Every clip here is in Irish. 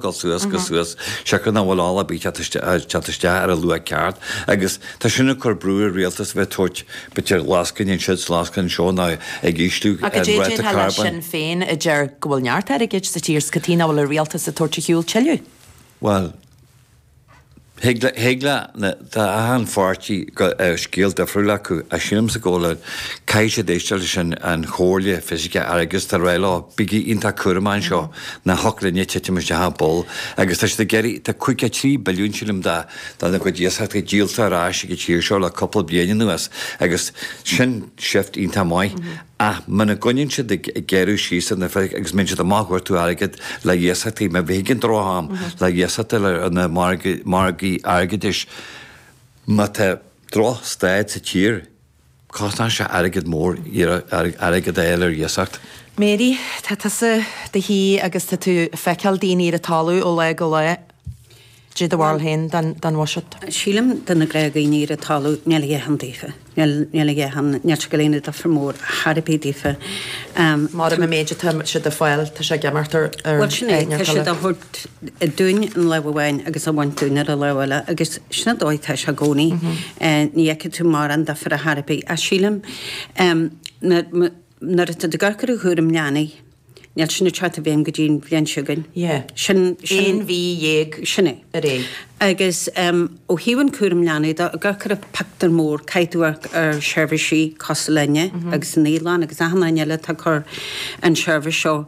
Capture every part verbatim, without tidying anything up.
Dul suas go suas, siocair nach bhfuil ola ar bith teacht isteach ar an luach ceart agus tá sin ag cur brú ar rialtas a bheith ag tabhairt b'fhéidir lascaine anseo is lascaine anseo nó ag ísliú Ach an cad é ráta déarfá le carbóin. Sinn Féin a deir go bhfuil neart airgid sa tír 's cad chuige nach bhfuil an rialtas ag tabhairt ar shiúl tuilleadh? Bhuel, thig le, thig le, na, tá achan pháirtí go, scéal difriúil acu ach sílimse go bhfuil, caithfidh siad éisteacht leis an, an chomhairle fisice airgeadais atá ag rá leo, bígí iontach cúramach anseo, ná thiocfadh linne titim isteach i bpoll agus tá siad ag iarraidh, tá caoga a trí billiún sílim de, de na gcuid iasachtaí díolta ar ais ag an tír seo le cúpla bliain anuas agus sin shift iontach maith. Ach muna gcoinníonn siad ag gearradh síos ar na fir agus mbíonn siad amach ag tabhairt airgead le hiasachtaí, má bhí an droch-am le hiasachtaí ar na margaí airgeadais, má tá droch-staid sa tír, cosnaíonn sé airgead mór airgead a fháil ar iasacht. Mary, tá tusa do shuí agus tá tú ag feiceáil daoine ar an talamh ó lá go lá. Cad é do bharúil féin den bhuiséad. Sílim do na gnáthdhaoine ar an talamh, níl a dhath ann daofa. Níl, níl a dhath ann, níl sé ag dul a dhéanamh difear mór thar ar bith daofa. Mar an méid atá siad ag fáil, tá sé ag imeacht ar ar Bhuel sin é, tá siad á thabhairt dúinn an lámh amháin agus á bhaint dúinn ar an lámh eile agus sin an dóigh atá sé i gcónaí. Ní fheicfidh tú mórán difear ar chor ar bith. Ach sílim, nuair atá tú ag amharc ar an chúram leanaí, Níl sin ag teacht i bhfeidhm go dtí an bhliain seo chugainn. Yeah. Sin, sin. Aon mhí dhéag Sin é. ar aghaidh. Agus ó thaobh an cúram leanaí de, ag amharc ar an pictiúr mór, caithfidh tú amharc ar sheirbhísí cosúil linne agus an naíolann agus achan duine eile atá ag cur an tseirbhís seo.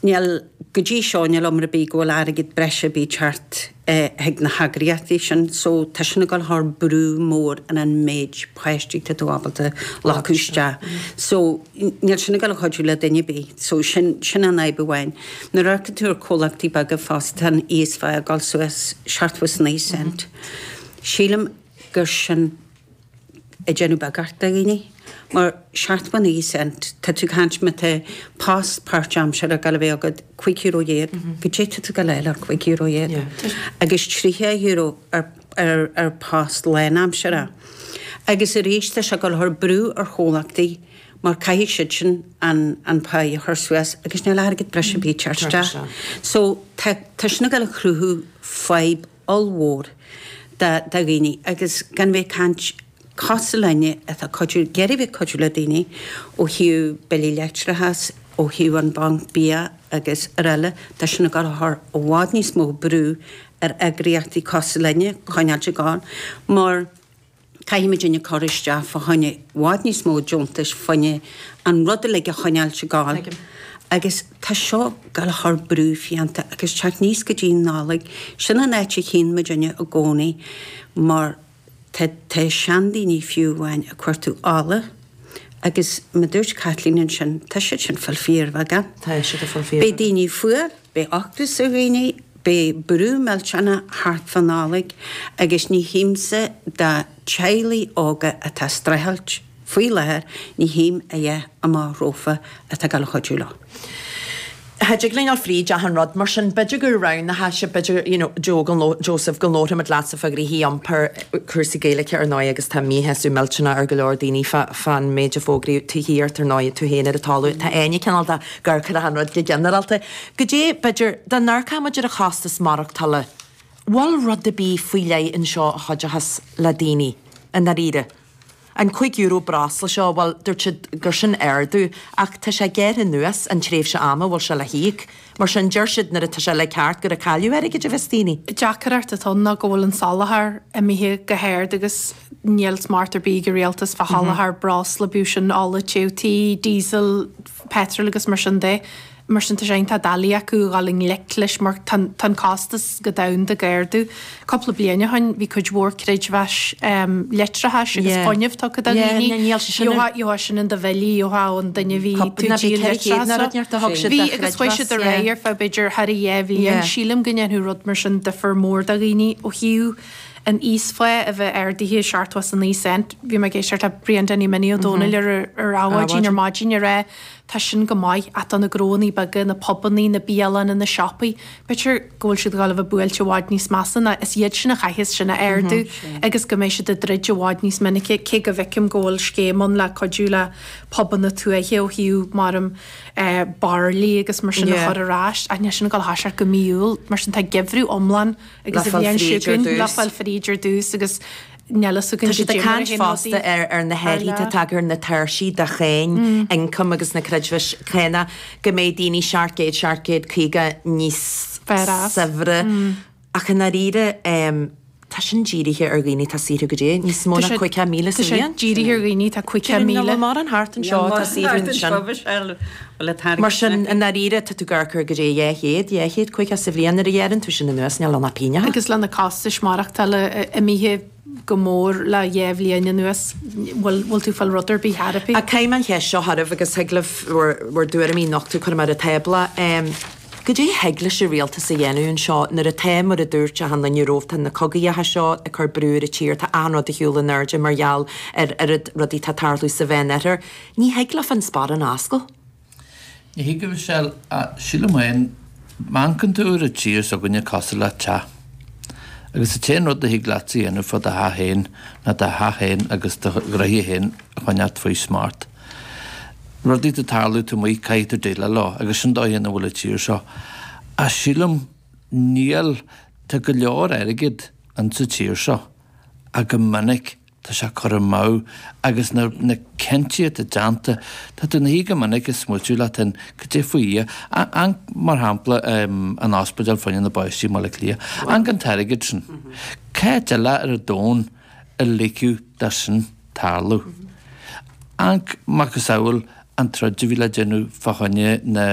Níl, go dtí seo, níl iomrá ar bith go bhfuil airgead breise ar bith ag teacht chuig na heagraíochtaí sin so tá sin ag dul a chur brú mór ar an méid páistí tá tú ábalta glacadh isteach. So níl sin ag dul a chuidiú le duine ar bith. So sin sin an fhadhb amháin. Nuair a amharcann tú ar chomhlachtaí beaga fosta tá an íosphá ag dul suas seachtó is naoi cent. Sílim gur sin ag déanamh beagáirt do dhaoine. Mar seachtó naoi cent, tá tú ag caint má tá post páirtaimseartha ag dul a bheith agat cúig euro dhéag, goidé tá tú ag dul a fháil ar cúig euro dhéag? Agus tríocha euro ar ar ar post lánaimseartha. Agus arís tá sé ag dul a chur brú ar chomhlachtaí mar caithfidh siad sin an an pá a chur suas agus níl airgead breise ar bith ag teacht isteach. So tá tá sin ag dul a chruthú fadhb ollmhór do dhaoine agus gan bheith ag caint cosúil linne atá ag cuidiú, ag iarraidh bheith ag cuidiú le daoine ó thaobh billí leictreachais, ó thaobh an banc bia agus araile, tá sin ag dul a chur i bhfad níos mó brú ar eagraíochtaí cosúil linne coinneáilt ag gabháil mar caithfidh muidinne cur isteach fá choinne i bhfad níos mó deontais fá choinne an rud uilig a choinneáilt ag gabháil agus tá seo ag dul a chur brú fiánta agus teacht aníos go dtí an Nollaig, sin an áit a chíonn muidinne i gcónaí mar tá tá seandaoine fiú amháin ag cuartú ola agus mar a dúirt Caitlín ansin, tá siad sin ag fáil fíorbheagán. Tá siad ag fáil fíorbheagán. Beidh daoine fuar, beidh ocras ar dhaoine, beidh brú millteanach thart fá Nollaig agus ní chímse do teaghlaigh óga atá ag streachailt faoi láthair, ní chím a dhath amach rompu atá ag dul a chuidiú leo. Cha dtig linn dul fríd achan rud mar sin, b'fhéidir gur roghnófá sé, b'fhéidir, you know, Joe, go nló, Joseph, go nlabharfaimid leatsa fá ghnoithí iompair, cúrsaí Gaeilge ar ndóigh agus tá míshásamh millteanach ar go leor daoine fá, fán méid a fógraíodh tithíocht ar ndóigh, tú féin ar an talamh, tá Áine cineál de ag amharc ar achan rud go ginearálta. Goidé, b'fhéidir, dá n-amharcfadh muid ar an chostas maireachtála, bhfuil rud ar bith faoi leith anseo a chuideochas le daoine, i ndáiríre? An cúig euro breosla seo, bhuel, dúirt siad gur sin ardú, ach tá sé gearrtha anuas an tréimhse ama a bhfuil sé le híoc. Mar sin, deir siad nuair atá sé le ceart gur ag cailleadh airgid a bheas daoine. Deacracht atá ann ná go bhfuil an soláthar imithe go hard agus níl smacht ar bith ag an rialtas fá sholáthar breosla, bíodh sin ola téamh tí, diesel, petrol agus mar sin de. Mar sin tá sé iontach doiligh acu a dhul i ngleic leis mar tá an costas go domhanda ag ardú. Cúpla bliain ó shin bhí cuid mhór creidmheas leictreachais agus fuinnimh tugtha do dhaoine. Gheofá sin in do bhillí, gheofá ón duine a bhí tú ag díol leictreachais. Bhí agus chuaigh siad ar aghaidh ar feadh b'fhéidir thar a dhá bhliain. Sílim go ndéanfadh rud mar sin difear mór do dhaoine ó thaobh an íosphá a bheith ardaithe seachtó is a naoi cent. Bhí mé ag éisteacht le Brian Danny Minnie Ó Dónaill ar ar Adhmhaidin ar maidin ag rá tá sin go maith ach do na gnónnaí beaga, na pubannaí, na bialanna, na siopaí, b'fhéidir go bhfuil siad ag dul a bheith buailte i bhfad níos measa ná is iad sin a chaithfeas sin a ardú agus go mbeidh siad ag druid i bhfad níos minice, cé go bhfeicim go bhfuil scéim ann le cuidiú le pubanna tuaithe ó thaobh maram eh, bairillí agus mar sin a chur ar ais, ach níl sin ag dul a thoiseacht go mí Iúil, mar sin tá geimhreadh iomlán agus a bhíonn siúin le fáil fríd ar dtús agus níl a fhios againn Tá siad ag caint fosta ar ar na hathruithe atá tagtha ar na tairsí de cháin ioncaim agus na creidmheas cánach go mbeidh daoine seacht gcéad, seacht gcéad caoga níos saibhre. Ach i ndáiríre tá sin dírithe ar dhaoine atá ag saothrú go dtí níos mó ná caoga míle sa bhliain. Tá sé dírithe ar dhaoine atá caoga míle. Níl mórán thart anseo atá ag saothrú ansin. Mar sin, i ndáiríre, tá tú ag amharc ar go dtí dhá chéad, dhá chéad caoga sa bhliain nuair a ghearrann tú sin anuas, níl ann ach pingin. Agus le na costais maireachtála imithe go mór le dhá bhliain anuas, bhfuil bhfuil tú ag fáil rud ar bith thar ar bith? Ach caithfidh mé an cheist seo oraibh agus thig libh bhur bhur dtuairimí a nochtadh, cuirfidh mé ar an tábla. Goidé a thig leis an rialtas a dhéanamh anseo nuair atá, mar a dúirt achan duine romhat, tá na cogaíocha seo ag cur brú ar an tír, tá achan rud ar shiúl in airde mar gheall ar oiread rudaí atá ag tarlú sa Mheánoirthear. Ní thig leofa an sparán a oscailt. Ní thig, a Mhichelle, ach sílim féin, má amharcann tú ar an tír s'againne cosúil le teach. Agus an t-aon rud a thig leatsa a dhéanamh fá do theach féin ná do theach féin agus do ghnoithe féin a choinneáilt faoi smacht. Rudaí atá ag tarlú taobh amuigh, caithfidh tú déileáil leo agus sin dóigh ina bhfuil an tír seo. Ach sílim, níl, tá go leor airgid insa tír seo ach go minic tá sé curtha amú agus na, na cinntí atá déanta, tá tú ina shuí go minic ag smaoitiú leat féin, cad é faoi Dhia, amharc mar shampla an ospidéal fá choinne na bpáistí i mBaile Átha Cliath, amharc an t-airgead sin. Cá háit eile ar an domhan a ligfeadh dó sin tarlú? Amharc macasamhail an troid a bhí le déanamh fá choinne na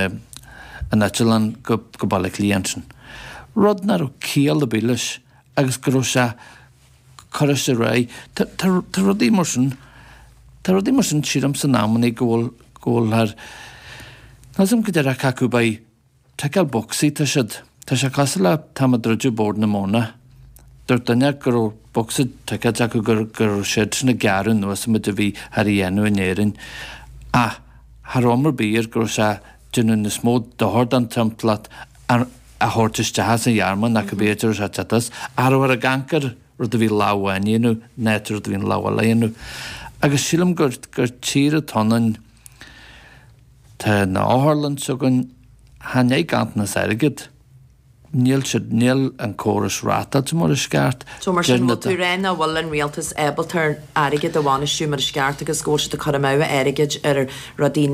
an eitleán go go Baile Átha Cliath ansin. Rud nach raibh ciall ar bith leis agus go raibh sé curtha ar aghaidh. Tá tá tá rudaí mar sin tá rudaí mar sin sílim san amannaí go bhfuil go bhfuil thar Níl 's agam go díreach cé acu beidh Ticeáil bocsaí, tá siad. Tá sé cosúil le táim ag druideadh Bord na Móna. Dúirt duine go raibh bocsa ticéid acu go raibh siad sin ag gearradh anuas an méid a bhí thar a dhéanamh in Éirinn. Ach cha raibh am ar bith air go raibh sé ag déanamh níos mó dochair don timpeallacht a thabhairt isteach as an Ghearmáin ná cibé áit a raibh sé ag teacht as. Ach cha rabhthar ag amharc ar rud a bhí lámh amháin a dhéanamh ná rud a bhí an lámh eile a dhéanamh. Agus sílim gur gur tír atá ionainn, tá na otharlann s'againn, Chan é ganntanas airgid. Níl siad, níl an córas rátáilte mar is ceart. So mar sin, bhfuil tú ag rá nach bhfuil an rialtas ábalta ar airgead a bhainistiú mar is ceart agus go bhfuil siad ag cur amú airgid ar rudaí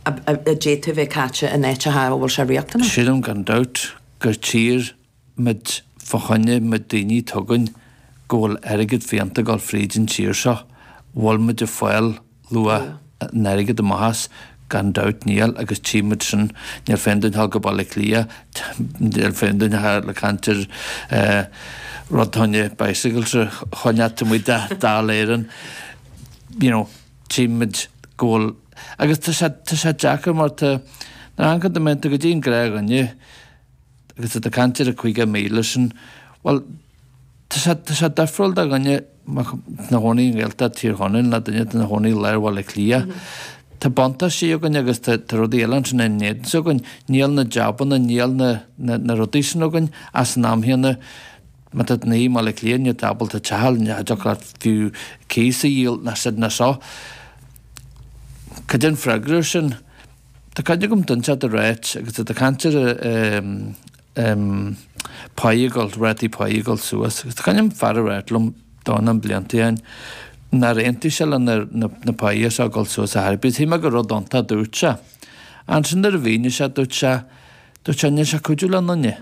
a d'fhéadfadh a bheith caite in áiteacha a bhfuil sé riachtanach? Sílim gan dabht gur tír muid fá choinne muid daoine atá againn go bhfuil airgead fiánta ag dul fríd an tír seo, bhfuil muid ag fáil luach an airgid amach as, gan dabht níl, agus tchímid sin, níl fonn duine a ghabháil go Baile Átha Cliath, níl fonn duine a ghabháil le caint ar rud fá choinne bicycles a choinneáil taobh amuigh de Dáil Éireann, you know, tchímid go bhfuil, agus tá sé, tá sé deacair mar tá, nuair a amharcann tú, tú go dtí an gnáthdhuine agus tá tú ag caint ar an caoga míle sin, bhuel, Tá sé, tá sé difriúil do dhuine ina chónaí i nGaeltacht Thír Chonaill ná duine atá ina chónaí i lár Bhaile Átha Cliath. Tá buntáistí againn agus tá, tá rudaí eile ansin in éadan s'againn. Níl na jabanna, níl na, na, na rudaí sin againn ach san am chéanna má tá tú ina shuí i mBaile Átha Cliath níl tú ábalta teach a fháil, ní thiocfadh leat fiú cíos a dhíol ná sin ná seo. Cad é an freagra ar sin? Tá cuimhne agam duine inteacht ag ráit agus tá tú ag caint ar páí ag dul, rátaí páí ag dul suas agus tá cuimhne agam fear ag ráit liom dornán blianta ó shin nár aontaigh sé le na na páí seo ag dul suas ar chor ar bith. Shíl mé gur rud iontach a dúirt sé. Ansin nuair a mhínigh sé dúirt sé dúirt sé níl sé ag cuidiú le aon duine.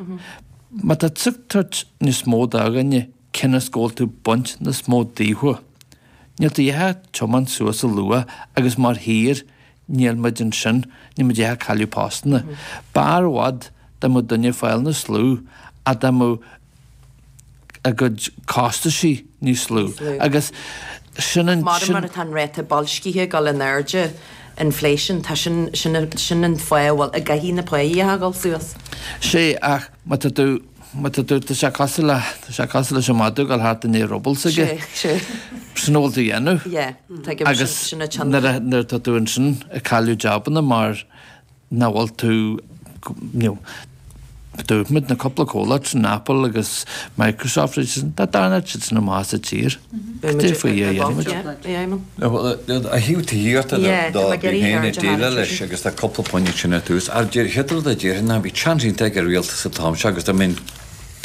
Má tá tú ag tabhairt níos mó do dhuine cionn is go bhfuil tú ag baint níos mó daofa. Níl tú a dhath ag tiomáint suas a luach agus mar thír Níl muid ansin, níl muid ag cailleadh postanna. B'fhearr i bhfad dá mbeadh duine ag fáil níos lú ach dá mbeadh a gcuid costaisí níos lú. Agus sin an, Mar sin. mar atá an ráta boilscithe ag dul in airde, inflation, tá sin, sin, sin an fáth a bhfuil, a gcaithfidh na páí a dhul suas. Sea, ach má tá tú, má tá tú, tá sé cosúil le, tá sé cosúil leis an madadh ag dul thart i ndiaidh ruball s'aige. Sea, sea. Sin a bhfuil tú a dhéanamh. Yeah, tuigim, Agus sin, sin an tionchar. nuair a, nuair atá tú ansin ag cailleadh jabanna mar nach bhfuil tú, you know, dúirt muid na cúpla comhlacht sin, Apple agus Microsoft, dá dtarlódh siad sin amach sa tír, cad é faoi a dhéanfaimid? Ó thaobh tithíochta de, bím féin ag déileáil leis agus tá cúpla pointe sin ar tús. Ach chéad rud a déarfainn ná bhí seans iontach ag an rialtas an t-am seo agus dá mbeinn